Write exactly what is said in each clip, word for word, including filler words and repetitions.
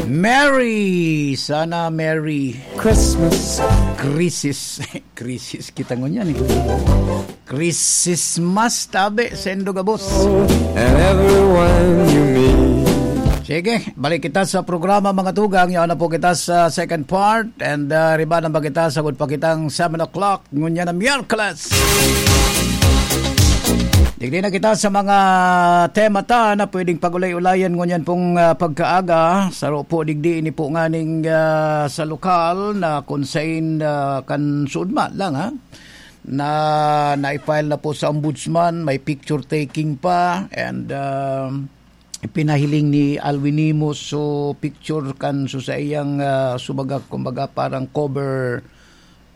Merry! Sana Merry Christmas. Krisis. Krisis kita ngunyan eh. Krisismas tabi, sendo gabos. And everyone you meet. Sige, balik kita sa programa, mga tugang. Yaon na po kita sa second part. And uh, riba na ba kita, sagod pa kitang seven o'clock. Ngunyan na Miyerkules. Digdi na kita sa mga tema ta na pwedeng pag-ulay-ulayan ngunyan pong ah, pagkaaga. Saro po digdi ini po nganing ah, sa lokal na kung sain ah, kan sudma lang ha, na na-file na po sa ombudsman, may picture taking pa, and ah, pinahiling ni Alwin Nimo so picture kan so sa iyang ah, subaga, kumbaga parang cover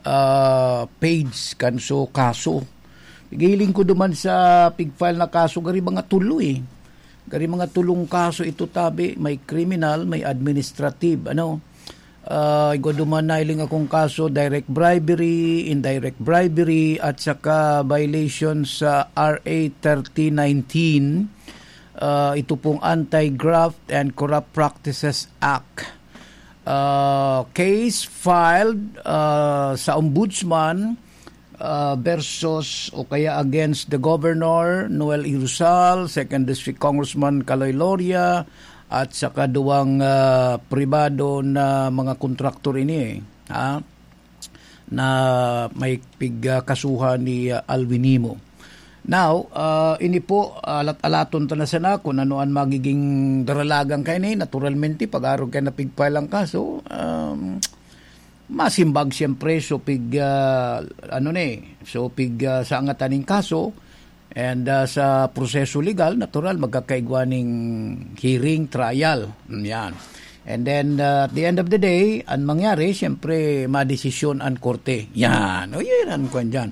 ah, page kan so kaso. Giling ko duman sa pig-file na kaso, gari mga tulo eh. Gari mga tulong kaso ito tabi, may criminal, may administrative, ano. Ah, igwa duman na iling akong kaso, direct bribery, indirect bribery, at saka violation sa R A thirty nineteen, ah, ito pong Anti-Graft and Corrupt Practices Act. Ah, case filed ah, sa Ombudsman ah, versus o kaya against the Governor, Noel Irusal, Second District Congressman Kaloy Loria, at saka duwang ah, pribado na mga kontraktor ini eh, ha? Na may pigkasuhan ni ah, Alwin Nimo. Now, ah, ini po, alat-alaton ta na sana kung ano ang magiging daralagan kaini. Naturalmente, pag-arog kayo na pig-file ang kaso, um, masimbag siyempre, so pig, ah, ano ni, so pig, ah, sa angatan ning kaso, and ah, sa proseso legal, natural, magkakaigwa ning hearing, trial. Yan. And then, ah, at the end of the day, ang mangyari, siyempre, madesisyon ang korte. Yan. O, yan ang kwan dyan.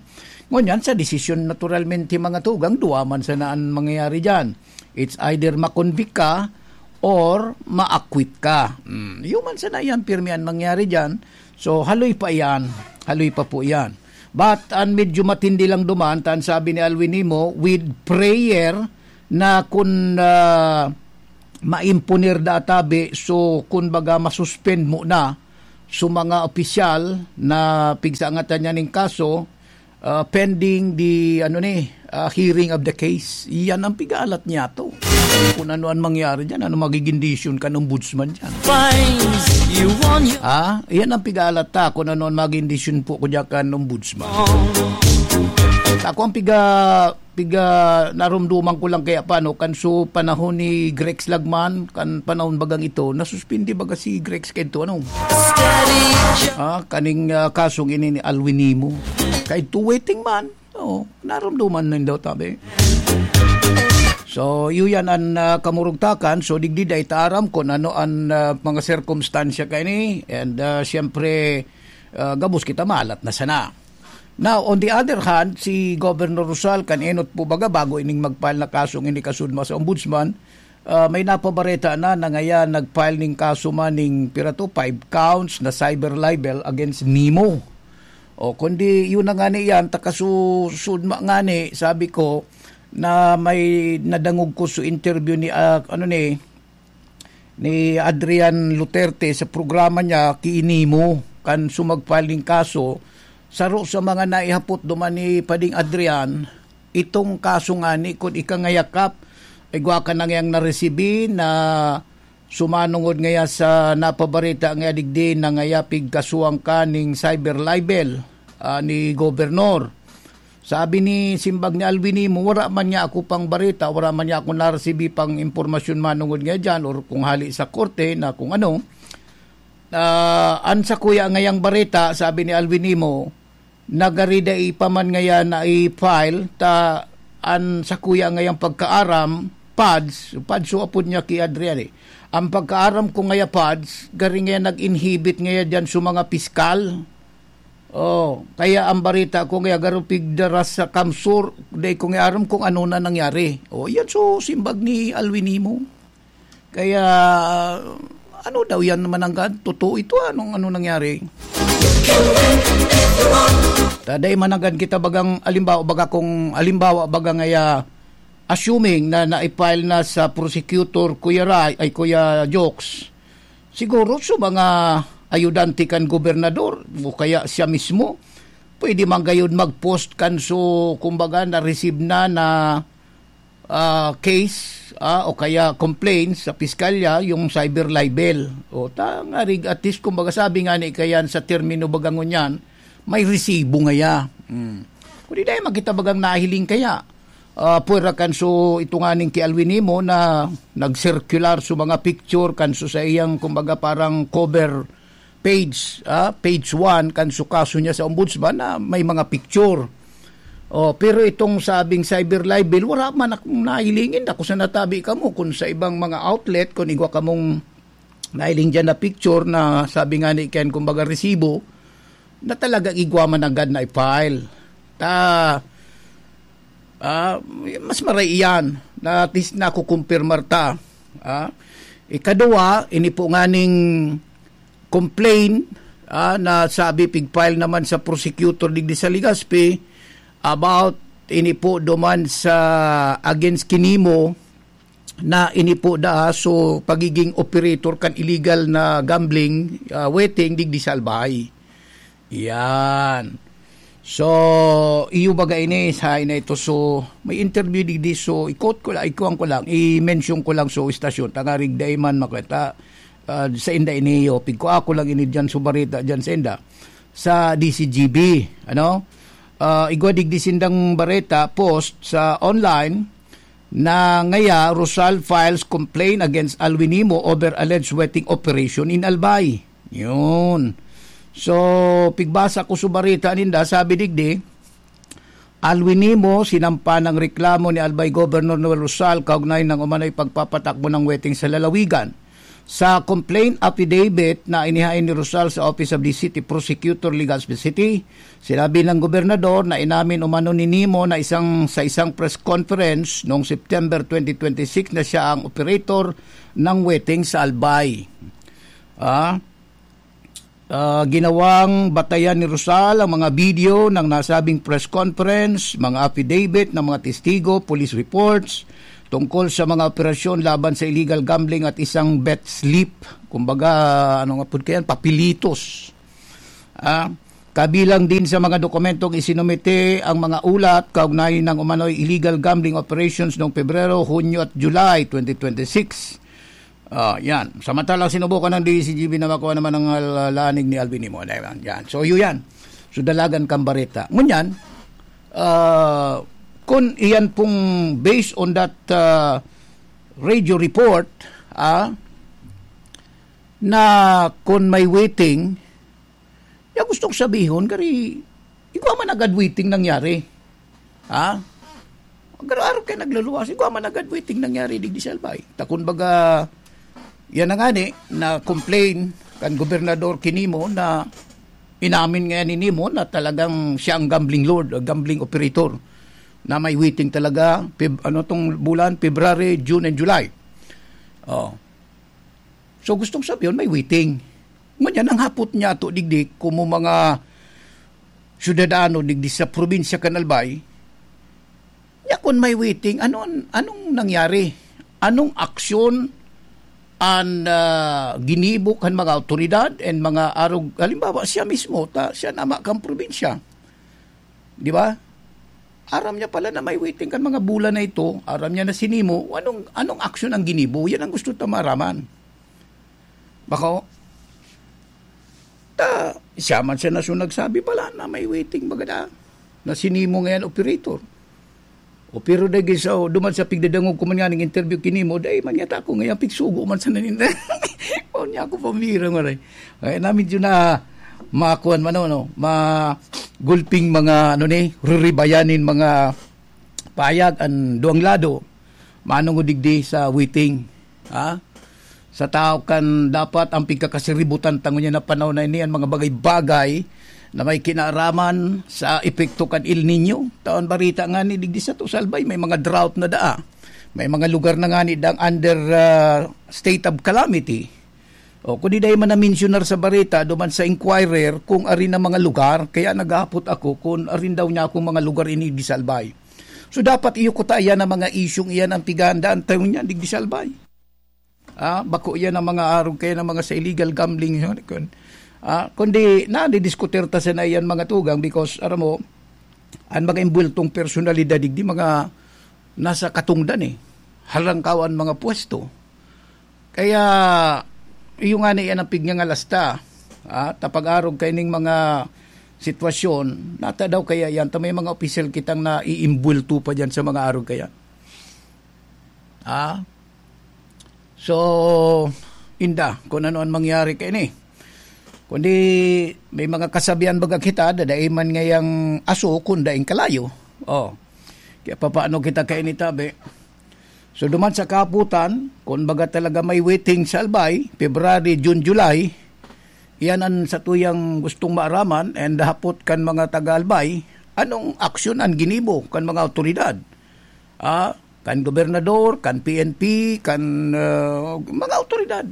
Ngunyan, sa desisyon, naturalmente, mga tugang, duwa man sana ang mangyayari dyan. It's either makonvict ka or ma-acquit ka. Mm, yun man sana yan, pirmi ang mangyayari dyan. So, haloy pa yan. Haloy pa po yan. But, ang medyo matindi lang duman, tan sabi ni Alwin Nimo, with prayer na kun ah, maimponer da tabi, so, kun baga, masuspend mo na so mga opisyal na pigsaangatan niya ning kaso, ah, pending the, ano ni, ah, hearing of the case. Iyan ang pigalat niya to. Kung ano ang mangyari dyan, ano magiging desisyon kan ombudsman dyan. Fines, you won your Ah, iyan ang pigalat ta, kung ano ang magiging desisyon po ko dyan kan ombudsman. Ako ang piga, piga narumduman ko lang kaya pa, no, kan so panahon ni Grex Lagman, kan panahon bagang ito, nasuspindi baga si Grex kento, ano? Steady. Ah, kaning ah, kasong ini ni Alwin Nimo. Kay to waiting man, oo, narumduman na daw tabi. So, iyo yan ang ah, kamurugtakan. So, digdi da ita aram kung ano ang ah, mga sirkumstansya kaini. And ah, siyempre, ah, gabos kita malat na sana. Now, on the other hand, si Governor Rosal, kan enot po baga, bago ining magpal na kasong ini kasudma sa ombudsman, ah, may napabareta na na ngaya nagpile ning kaso man ning pira to, five counts na cyber libel against Nimo. O, kundi yun na nga ni yan, takasusudma nga ni, sabi ko, na may nadangog ko sa interview ni, ah, ano ni, ni Adrian Luterte sa programa niya, ki Nimo, kan sumagpal ning kaso, saro sa mga naihapot duman ni Pading Adrian, itong kaso nga ni, kun ika ngayakap, igwa ka nang yang naresibi na sumanungod ngaya sa napabareta nga digdi na ngaya pigkasuhan ka ning cyber libel, ah, ni Gobernador. Sabi ni simbag ni Alwin Nimo, wala man niya ako pang bareta, wala man niya ako naresibi pang impormasyon manungod nga dyan or kung hali sa korte na kung ano. Ah, an sakuya ngayang bareta, sabi ni Alwin Nimo, nagari dai pa man ngaya na i-file, ta an sakuya ngayang pagkaaram, pads, pads so apod niya ki Adrian eh. Ang pagkaaram ko ngaya pads, gari ngaya nag-inhibit ngaya dyan sa mga piskal. Oh, kaya ang barita ko nga garo pigdaras sa kamsur, dai ko nga aram kung ano na nangyari. Oh, yan so simbag ni Alwin Nimo. Kaya, ano daw yan mananggad? Totoo ito, anong ano nangyari? Taday mananggad kita bagang alimbawa, baga kung alimbawa, baga ngaya, assuming na na-file na sa prosecutor, Kuya Ray, ay, Kuya Jokes, siguro sa mga ayudante kan gobernador o kaya siya mismo, pwede man gayud mag-post kan so, kumbaga, na-receive na na, ah, case, ah, o kaya complaint sa piskalya, yung cyber libel. O, ta, nga rig-, at least, kumbaga, sabi nga ni kayan sa termino baga ngunyan, may resibo ngaya. Mm. Kundi dahil makita bagang nahiling kaya, ah, puwera kan so, ito nga ning ki Alwin Nimo na nag-circular so mga picture kan so sa iyang, kumbaga, parang cover page, ah, page one kan so kaso niya sa ombudsman na may mga picture. Oh, pero itong sabing cyber libel, wala man akong nahilingin. Ako sa natabi kamo kung sa ibang mga outlet, kung igwa kamong nahiling dyan na picture na sabi nga ni Ken, kumbaga resibo, na talagang igwa man agad na i-file. Ta, ah, mas maray iyan na at least nakukumpirmar ta. Ah, ikaduwa, ini po nga ning complaint, ah, na sabi pig-file naman sa prosecutor digdi sa Legazpi about ini po duman sa against ki Nimo na ini po da, so pagiging operator kan illegal na gambling, ah, wetting digdi sa Albay. Yan. So, iyo baga ini, sa ina ito. So, may interview digdi. So, i-quote ko lang, ikuan ko lang, i-mention ko lang so istasyon. Tangarig dai man makwenta, ah, sa inda ini, yo. Pigkua ko lang ini dyan, so barita dyan sa inda. Sa D C G B, ano? Ah, igwa digdi sindang bareta, post sa online, na ngaya, Rosal files complaint against Alwin Nimo over alleged wetting operation in Albay. Yun. So, pigbasa ko sa barita ninda, sabi digdi, Alwin Nimo, sinampa ng reklamo ni Albay Governor Noel Rosal kaugnay ng umano'y pagpapatakbo ng wetting sa lalawigan. Sa complaint affidavit na inihain ni Rosal sa Office of the City Prosecutor, Legazpi City, sinabi ng gobernador na inamin umano ni Nimo na isang, sa isang press conference noong September twenty twenty-six na siya ang operator ng wetting sa Albay. Ah, ah, ginawang batayan ni Rosal ang mga video ng nasabing press conference, mga affidavit ng mga testigo, police reports tungkol sa mga operasyon laban sa illegal gambling at isang bet slip. Kumbaga, ano nga po kaya? Papelitos. Ah, kabilang din sa mga dokumentong isinumite ang mga ulat kaugnay ng umano'y illegal gambling operations noong Pebrero, Hunyo at July twenty twenty-six. Ah, yan. Samantalang sinubukan ng D C G B na makuha naman ang, ah, lanig ni Alvin Nimo. Ayan, yan. So, yun yan. So, dalagan kang bareta. Ngunyan, ah, kung iyan pong based on that, ah, radio report, ah, na kung may wetting, ya gustong sabihon, kari, igwa man agad wetting nangyari. Ha? Garo-garo kayo nagluluwas, igwa man agad wetting nangyari digdi sa Albay. Ta kun baga, yan na nga ni, na complain kan gobernador ki Nimo na inamin nga ni Nimo na talagang siya ang gambling lord, o gambling operator, na may wetting talaga, Feb-, ano tong bulan, February, June, and July. Oh. So, gustong sabihin, may wetting. Ngunyan, ang hapot niya to, digdi, kung mo mga syudadano digdi sa probinsya kan Albay, ya kun may wetting, ano an-, anong nangyari? Anong aksyon an, ah, ginibo kan mga awtoridad and mga arog-, halimbawa, siya mismo, ta, siya nama kan probinsya. Di ba? Aram niya pala na may wetting kan mga bulan na ito, aram niya na si Nimo, anong, anong aksyon ang ginibo? Yan ang gusto ta maraman. Bako, ta, siya man siya na so nagsabi pala na may wetting baga na, na si Nimo ngayon operator. O pero dahil sa, duman sa pigdadangog ko man nga ng interview ki Nimo, dahil man yata ako ngayon pigsugo man sa naninda. O niya ako pambira, maray. Kaya na medyo na makuan man, ano, magulping mga, ano ni, ruribayanin mga payag an duwang lado. Manong digdi sa wetting. Ha? Sa tao kan dapat ang pigkakasiributan ta ngunyan na panahon na ini, an mga bagay-bagay na may kinaaraman sa epekto kan El Niño. Taon barita nga ni digdi sa to sa Albay, may mga drought na daa. May mga lugar na nga ni dang under, ah, state of calamity. O, kung di dahil man na-mensionar sa barita, duman sa Inquirer, kung ari na mga lugar, kaya naghapot ako kung arin daw niya akong mga lugar ini di sa Albay. So, dapat iyo kuta iyan ang mga isyung iyan ang pighandaan tayo niyan, digdi sa Albay. Ah, bako iyan ang mga arog kaya ng mga sa illegal gambling, yun, kun, ah, kundi nadidiskutir ta sana iyan, mga tugang, because, aram mo, ang mga imbultong personalidad, digdi mga nasa katungdan eh. Halangkaw ang mga pwesto. Kaya, iyo nga na iyan ang pigngangalasta. Ah, tapag-arog kaining mga sitwasyon, nata daw kaya yan, ta may mga opisyal kitang naiimbulto pa dyan sa mga arog kaya. Ah? So, inda, kung ano ang mangyari kaini. Kundi may mga kasabihan baga kita, dadaiman ngayang aso, kun daing kalayo. Oh. Kaya papaano kita kaini tabi? So, duman sa kaputan, kung baga talaga may waiting sa Albay, February, June, July, iyan ang satuyang gustong maaraman and hapot kan mga taga-Albay, anong aksyon ang ginibo kan mga awtoridad? Ah, kan gobernador, kan P N P, kan, ah, mga awtoridad.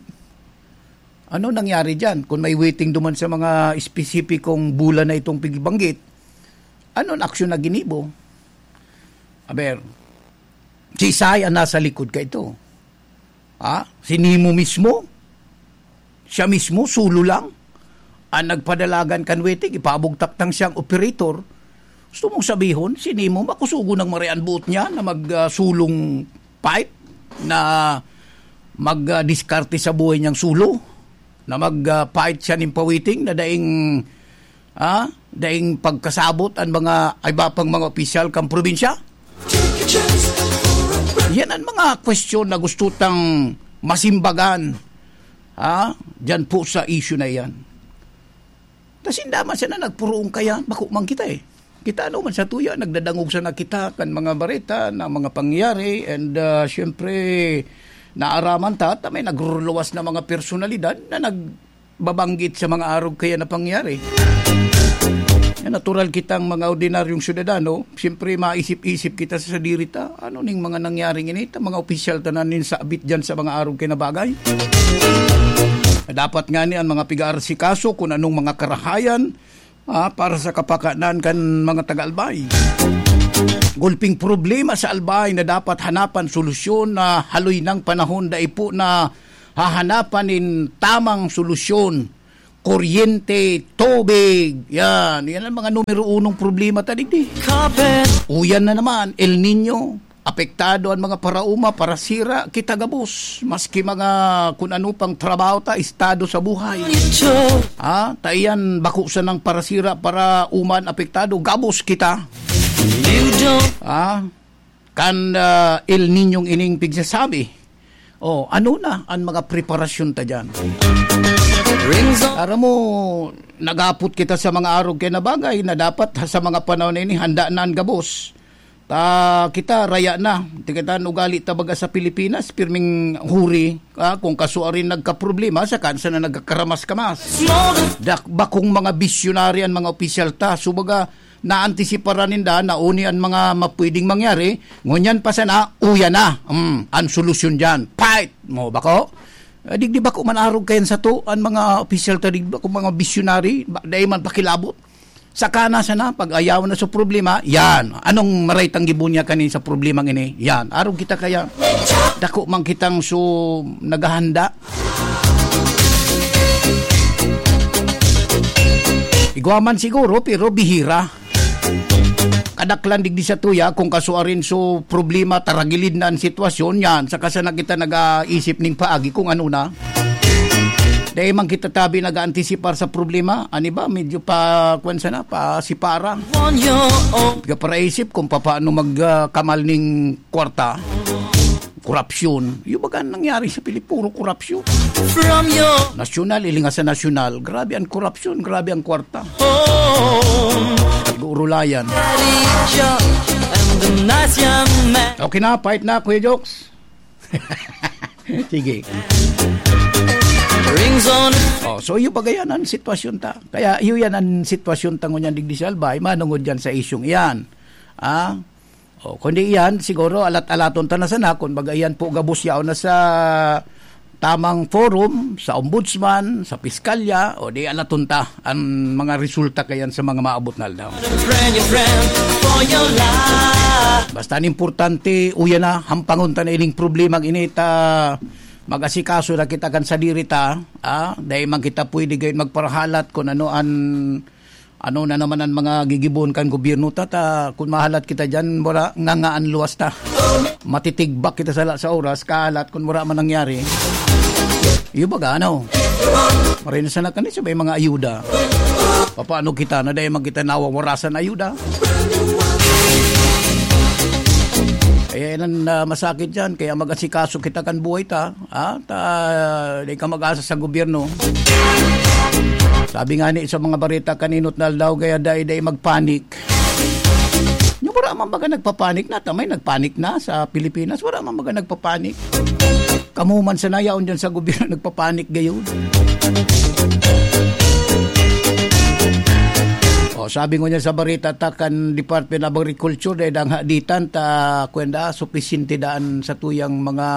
Ano nangyari diyan? Kung may waiting duman sa mga espesipikong bulan na itong pigbanggit, ano ang aksyon na ginibo? Aber, si Isay ang nasa likod ka ito. Ha? Si Nemo mismo? Siya mismo, solo lang? Ang nagpadalagan kan waiting, ipabugtak tang siyang operator. Gusto mong sabihon, si Nemo, makusugo ng marian buot niya na mag, ah, sulong fight, na mag, ah, diskarte sa buhay niyang solo, na mag, ah, fight siya nin pa-waiting, na daing, ah, daing pagkasabot ang mga iba pang mga opisyal kang probinsya? Yan ang mga kwestiyon na gusto tang masimbagan, ha? Diyan po sa issue na yan. Ta sinda man sana nagpuruong kaya, bako man kita eh. Kita ano man sa tuya, nagdadangog sana kita kan mga bareta na mga pangyayari, and, ah, siyempre, naaraman ta, ta may nagruluwas na mga personalidad na nagbabanggit sa mga arog kaya na pangyayari. Na natural kitang mga ordinaryong syudadano, siyempre maisip-isip kita sa sadiri ta, ano ning mga nangyaring ini, ta mga opisyal ta na nin sabit dyan sa mga arog kaya na bagay. Dapat nga ni ang mga piga-arsikaso kung anong mga karahayan, ah, para sa kapakanan kan mga taga-Albay. Gulping problema sa Albay na dapat hanapan solusyon na haloy nang panahon, dai po na hahanapan nin tamang solusyon. Kuryente, tubig, yan. Yan ang mga numero unong problema ta digdi. Uyan na naman, El Niño. Apektado an mga paraoma, parasira, kita gabos. Maski mga kun ano pang trabaho ta, estado sa buhay. Ha? Ta iyan, bako sanang parasira, paraoma an apektado, gabos kita. Ha? Kan, ah, El Niñong ining pigsasabi. Oh, ano na an mga preparasyon ta diyan? Aram mo, nagapot kita sa mga arog kaya na bagay na dapat sa mga panahon na ini, handa na an gabos. Ta kita, raya na. Di kita ugali ta baga sa Pilipinas, pirming huri, ah, kung kasuarin nagkaproblema, saka sana nagkakaramas-kamas. Dak-, bakong mga bisyonaryo an mga opisyal ta. So, baga, naantisiparan ninda na uni an mga mapwedeng mangyari, ngunyan pa sana, uya na. Mm, an solusyon diyan, fight mo, bako? Eh, digdi bako man arog kayan sato, an mga opisyal ta, digdi bako mga bisyonary, ba, dai man pakilabot. Saka na sana, pag-ayaw na sa problema, yan. Anong maray tang gibo niya kanin sa problema ini? Yan. Arog kita kaya, dako man kitang so naghahanda. Igwa man siguro, pero bihira. Kadaklan digdi sa tuya, kung kasuarin so problema, taragilid na an sitwasyon, yan. Saka sana kita nag-aisip ning paagi kung ano na. Dai man kita tabi nag-aantisipar sa problema. Ani ba? Medyo pa, kwan sana, pa sipara. Pagkaparaisip kung papaano mag, ah, kamal ning kwarta. Korupsyon. Yung baga nangyari sa Pilip-, puro korupsyon. Nasyonal, ilinga sa nasyonal. Grabe ang korupsyon, grabe ang kwarta. Siguro layan. Okay na, fight na, Kuya Jokes. Sige. Oh, so iyo pa yan ang sitwasyon ta. Kaya iyo yan ang sitwasyon ta ngunyan digdi sa Albay, manungod yan sa isyong iyan. Ah? Oh, kundi iyan, siguro alat-alaton ta na sana, kun baga iyan po gabos yaon na sa tamang forum, sa ombudsman, sa piskalya, o di alaton ta an mga resulta kayan sa mga maabot na aldaw. Friend, your friend for your life. Basta an importante, uya na, hampangon ta na ining problema ini ta mag-asikaso na kita kan sadiri ta, ah, dai man kita pwede gayon magparahalat kun ano an, ano na naman an mga gigibohon kan gobyerno ta, ta kun mahalat kita diyan, wala, ngangaan luwas ta. Matitigbak kita sala sa oras, kahalat kun wala man nangyari. Iyo baga, ano? Maray na sana kani sabay mga ayuda. Papaano kita na dai man kita nawawarasan ayuda? Kaya yan ang, ah, masakit dyan. Kaya mag-asikaso kita kan buhay ta. Ha? Ta, di ka mag-asa sa gobyerno. Sabi nga ni sa mga bareta kaninot na aldaw, kaya dai-dai magpanik. Yung wala man baga nagpapanik na, tamay nagpanik na sa Pilipinas, wala man baga nagpapanik. Kamo man sana yaon dyan sa gobyerno nagpapanik gayon. O, sabi ko niya sa bareta ta kan Department of Agriculture, dahil ang haditan ta, kwenda, supisyente daan sa tuyang mga,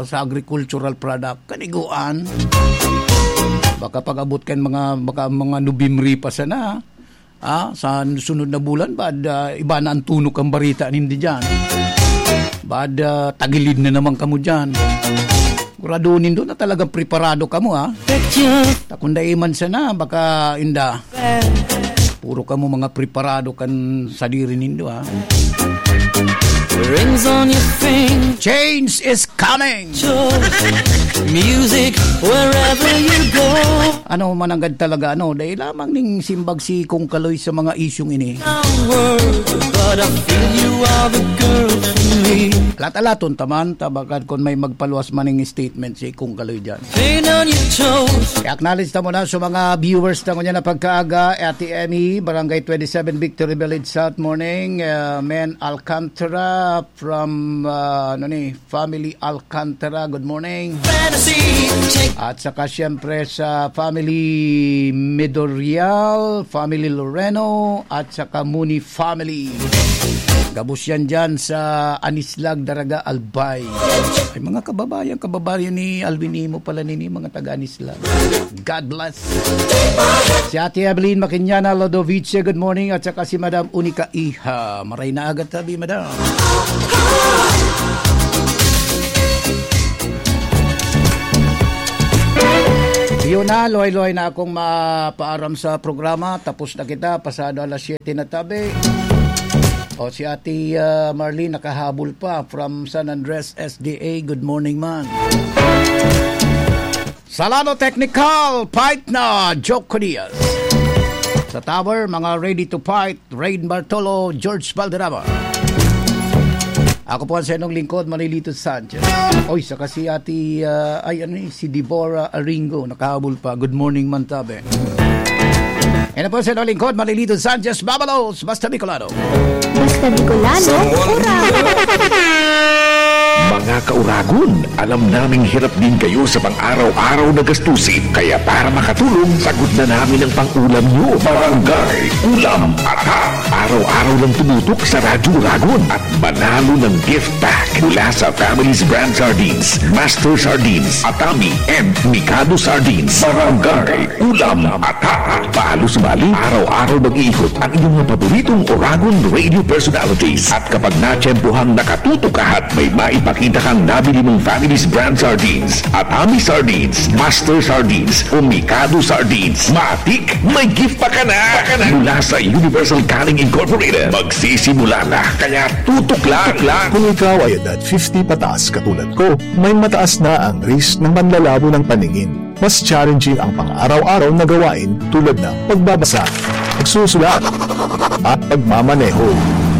sa agricultural product. Kaniguan. Baka pag-abot kan mga, baka mga Nobyembre pa sana. Ah, sa sunod na bulan, bad, ah, iba na ang tunok ang bareta nindi dyan. Bad, ah, tagilid na naman kamo dyan. Sigurado nindo na talagang preparado kamo, ha? Takundai man sana, baka inda. Puro kamo mga preparado kan sadiri nindo, ha? Rings on your finger. Change is coming. Music wherever you go. Ano mananggad talaga, ano, dahil lamang ning simbag si Kong Kaloy sa mga isyung ini. Some words, but I feel you are the girl for me. Alat-alaton taman, tabakan kun may magpaluwas maning statement si Kong Kaloy dyan. Paint on your toes. I-acknowledge ta muna sa mga viewers ta ngunyan na pagkaaga, Ate Emmy, Barangay twenty-seven, Victory Village, South, morning. Uh, Men Alcantara from, uh, ano ni, Family Alcantara, good morning. At saka siyempre sa Family Medorial, Family Loreno, at saka Muni Family. Gabos yan dyan sa Anislag, Daraga, Albay. Ay, mga kababayan, kababayan ni Alvin Imo pala nini, mga taga Anislag. God bless. Si Ate Evelyn Makinyana Lodovice, good morning. At saka si Madam Unica Iha. Maray na aga tabi, Madam. Yun na, luhay-luhay na akong mapaaram sa programa. Tapos na kita, pasado alas siyete na tabi. O, si Ate, ah, Marlene nakahabol pa from San Andres S D A. Good morning, man. Salado Technical, fight na, Joke Diaz. Sa tower, mga ready to fight, Rain Bartolo, George Valderrama. Ako po ang sa inyong lingkod, Manilito Sanchez. Oy, saka si Ate, ah, ay, ano eh, si Deborah Aringo, nakahabol pa. Good morning, Mantabe. Yan na po sa inyong lingkod, Manilito Sanchez, Babalos, Basta Bicolano. Basta Bicolano, ura! Mga kauragon, alam naming hirap din kayo sa pang-araw-araw na gastusin. Kaya para makatulong, sagot na namin ang pang-ulam nyo. Barangay Ulam Atak. Araw-araw lang tumutok sa Radyo Uragon at manalo ng gift pack mula sa Family's Brand Sardines, Master Sardines, Atami, and Mikado Sardines. Barangay Ulam Atak. Paalo-sumali, araw-araw mag-iikot ang inyong mga paboritong Oragon Radio Personalities. At kapag natiyempohang nakatutok ka at may maipakita kang nabili mong Family's Brand Sardines, Atami Sardines, Master Sardines, o Mikado Sardines, matik, may gift pa ka na! Mula sa Universal Canning Incorporated, magsisimula na, kaya tutok lang! Kung ikaw ay edad fifty pataas katulad ko, may mataas na ang risk ng panlalabo ng paningin. Mas challenging ang pang-araw-araw na gawain tulad ng pagbabasa, pagsusulat, at pagmamaneho.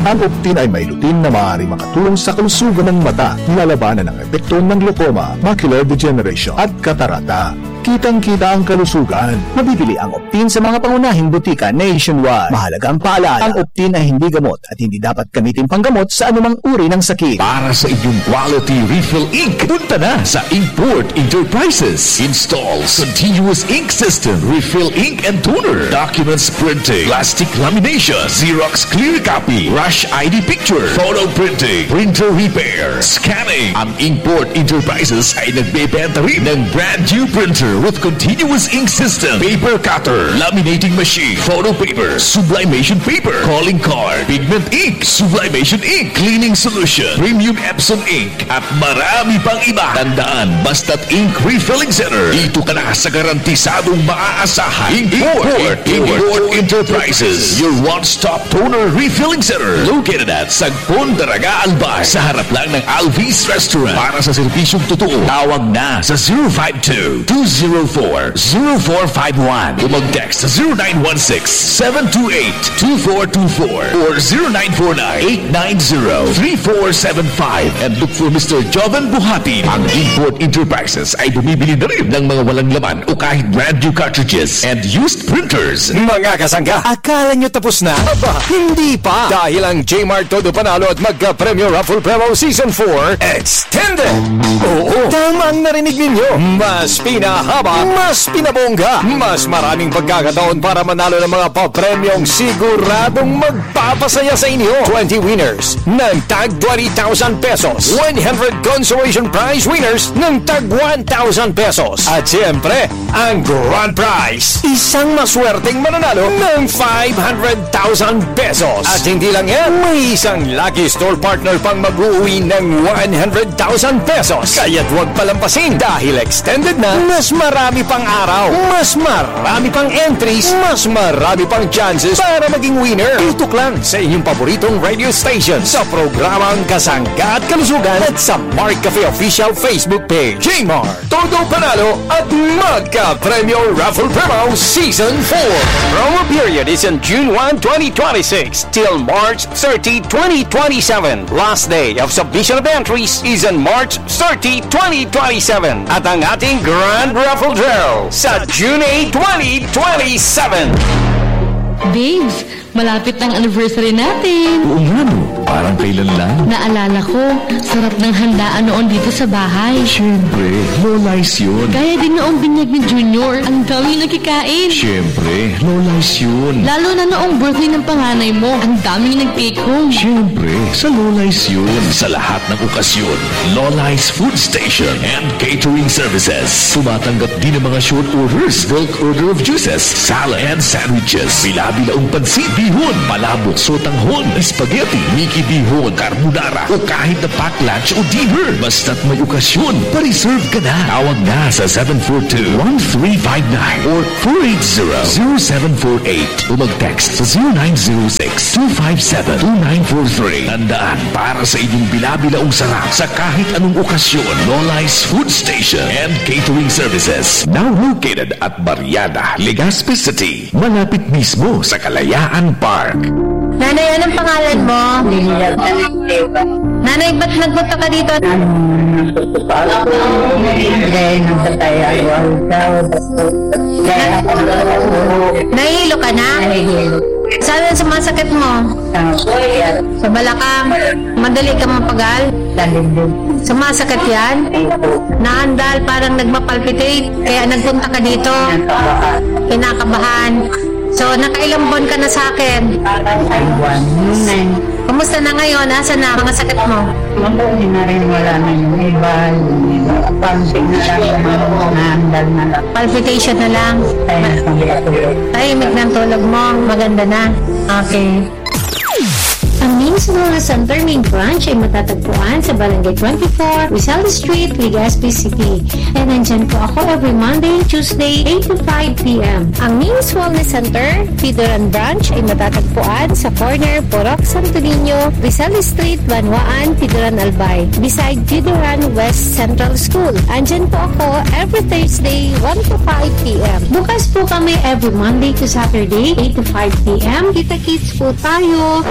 Ang Optin ay may lutein na maaaring makatulong sa kalusugan ng mata, nilalabanan ang epekto ng glaucoma, macular degeneration, at katarata. Kitang-kita ang kalusugan. Mabibili ang Optin sa mga pangunahing butika nationwide. Mahalagang paalala, ang Optin ay hindi gamot at hindi dapat gamitin panggamot sa anumang uri ng sakit. Para sa inyong quality refill ink, punta na sa Inkport Enterprises. Installs continuous ink system, refill ink and toner, documents printing, plastic lamination, Xerox clear copy, rush I D picture, photo printing, printer repair, scanning. Ang Inkport Enterprises ay nagbebenta rin ng brand new printer with continuous ink system, paper cutter, laminating machine, photo paper, sublimation paper, calling card, pigment ink, sublimation ink, cleaning solution, premium Epson ink, at marami pang iba. Tandaan, basta't ink refilling center, dito ka na sa garantisadong maaasahan. Import, Import, Import Enterprises, your one-stop toner refilling center, located at Sagpon, Daraga, Albay, sa harap lang ng Alvis Restaurant. Para sa serbisyong totoo, tawag na sa zero five two, two zero four, zero four five one. O mag-text sa zero nine one six, seven two eight, two four two four or zero nine four nine, eight nine zero, three four seven five. And look for Mister Joven Buhatin. Ang Import Enterprises ay bumibili na rin ng mga walang laman o kahit brand new cartridges and used printers. Mga kasangga, akala nyo tapos na? Aba, hindi pa! Dahil ang J-Mart Todo Panalo at Magka-Premyo Raffle Promo Season four Extended! Oo, tama ang narinig ninyo! Mas pinahaba, mas pinabongga, mas maraming pagkakataon para manalo ng mga papremyong siguradong magpapasaya sa inyo. Twenty winners ng tag twenty thousand pesos, one hundred consolation prize winners ng tag one thousand pesos, at siyempre, ang grand prize, isang maswerteng mananalo ng five hundred thousand pesos. At hindi lang yan, may isang lucky store partner pang mag-uuwi ng one hundred thousand pesos. Kaya't huwag palampasin dahil extended na, mas marami pang araw, mas marami pang entries, mas marami pang chances para maging winner. Tutok lang sa inyong paboritong radio station sa programang Kasangga at Kalusugan at sa Mark Cafe Official Facebook page. J-Mart, Todo Panalo at Magka-Premyo Raffle Promo Season four. Promo period is on June one, twenty twenty-six till March thirty, twenty twenty-seven. Last day of submission of entries is on March thirty, twenty twenty-seven. At ang ating Grand Raffle Draw sa June eight, twenty twenty-seven. Babes, malapit na ang anniversary natin. Oo nga, no? Parang kailan lang. Naalala ko, sarap ng handaan noon dito sa bahay. Siyempre, Lola's yun. Kaya din noong binyag ni Junior, ang daming nakikain. Siyempre, Lola's yun. Lalo na noong birthday ng panganay mo, ang daming nag-take home. Siyempre, sa Lola's yun. Sa lahat ng okasyon, Lola's Food Station and Catering Services. Tumatanggap din ng mga short orders, bulk order of juices, salad, and sandwiches. Bila-bilaong pansit, bihon, palabok, sotanghon, spaghetti, Mickey bihon, carbonara, o kahit na pack lunch o dinner. Basta't may okasyon, pa-reserve ka na. Tawag na sa seven four two, one three five nine or four eight zero, zero seven four eight o mag-text sa zero nine zero six, two five seven, two nine four three. Tandaan, para sa inyong bila-bilaong sarap sa kahit anong okasyon, Lola's Food Station and Catering Services. Now located at Barriada, Legazpi City, malapit mismo sa Kalayaan Park. Nanay, anong pangalan mo? Nanay, ba't nagpunta ka dito? Nahilo ka na? Saan ang sumasakit mo? Sa balakang. Madali ka mapagal? Sumasakit yan? Naandal, parang nagmapalpitate, kaya nagpunta ka dito. Kinakabahan. So, nakailang buwan ka na sa akin? Kumusta na ngayon? Asa na mga sakit mo? Mabuti na rin, wala na yung iba, yung iba. Palpit na lang, yung ano, naandal na lang. Palpitation na lang. Tahimik ang tulog. Tahimik na ang tulog mo. Maganda na. Okay. Ang Names Wellness Center main branch ay matatagpuan sa Barangay twenty-four, Rizal Street, Legazpi City. And nandyan po ako every Monday and Tuesday, eight to five p.m. Ang Names Wellness Center, Pidoran Branch, ay matatagpuan sa corner Purok Santo Niño, Rizal Street, Banwaan, Pidoran, Albay, beside Pidoran West Central School. Andyan po ako every Thursday, one to five p.m. Bukas po kami every Monday to Saturday, eight to five p.m. Kita-kits po tayo.